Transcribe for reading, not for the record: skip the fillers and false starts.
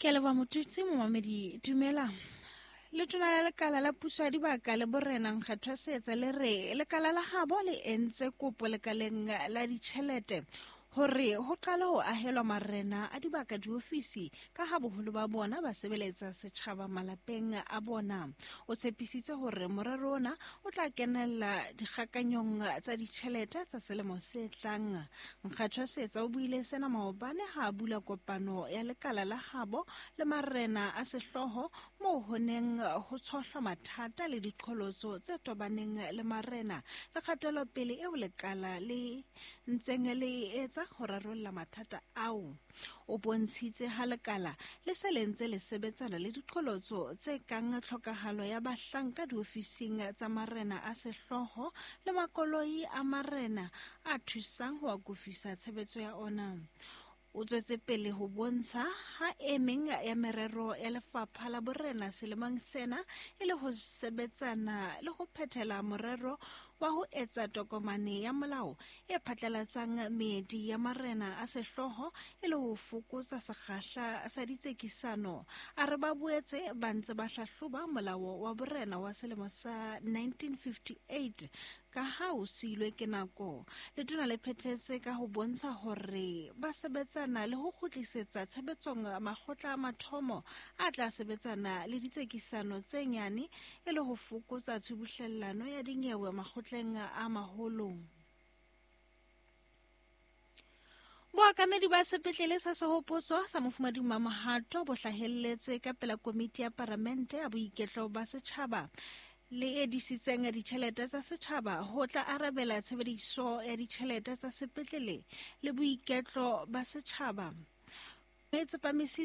Ke a leboha Motutsi momamedi dumela. Letona la lekala la puso ya dibaka le borena Nkgethwa Seetsa le re lekala la gabo le entse kopo lekaleng la ditšhelete hore ho qale ho ahelwa marena a dibaka diofisi ka ha boholo ba bona ba sebeletsa setjhaba malapeng a bona. O tshepisitse hore morero ona o tla kenella dikgakanyong tsa ditjhelete tsa selemo se tlang. Nkgethwa Seetsa o buile sena maobane ha a bula kopano ya lekala la habo le marena a sehlooho moo ho neng ho tshohlwa mathata le diqholotso tse tobaneng le marena le kgatelopele eo lekala le ntseng le e etsa ho rarolla mathata ao. O bontshitse ha lekala le se le ntse le sebetsana le diqholotso tse kang tlhokahalo ya bahlanka diofising tsa marena a sehlooho le makoloi a marena a thusang ho akofisa tshebetso ya ona. O tswetse pele ho bontsha ha e meng ya merero ya lefapha la borena selemong sena e le ho sebetsana le ho phethela morero wa ho etsa tokomane ya molao e phatlalatsang meedi ya marena a sehlooho e le ho fokotsa sekgahla sa ditsekisano. A re ba boetse ba ntse ba hlahloba molao wa borena wa selemo sa 1958 ka ha o siilwe ke nako. Letona le phethetse ka ho bontsha hore ba sebetsana le ho kgutlisetsa tshebetsong makgotla a mathomo a tla sebetsana le ditsekisano tse nyane e le ho fokotsa tshubuhlellano ya dinyewe makgotleng a maholo. Boakamedi ba sepetlele sa Sehopotso sa Mofumadi Mamohato bo hlahelletse ka pela komiti ya paramente ya boiketlo ba setjhaba le e disitseng ditjhelete tsa setjhaba ho tla arabela tshebediso ya ditjhelete tsa sepetlele le boiketlo ba setjhaba. E tsepamisitse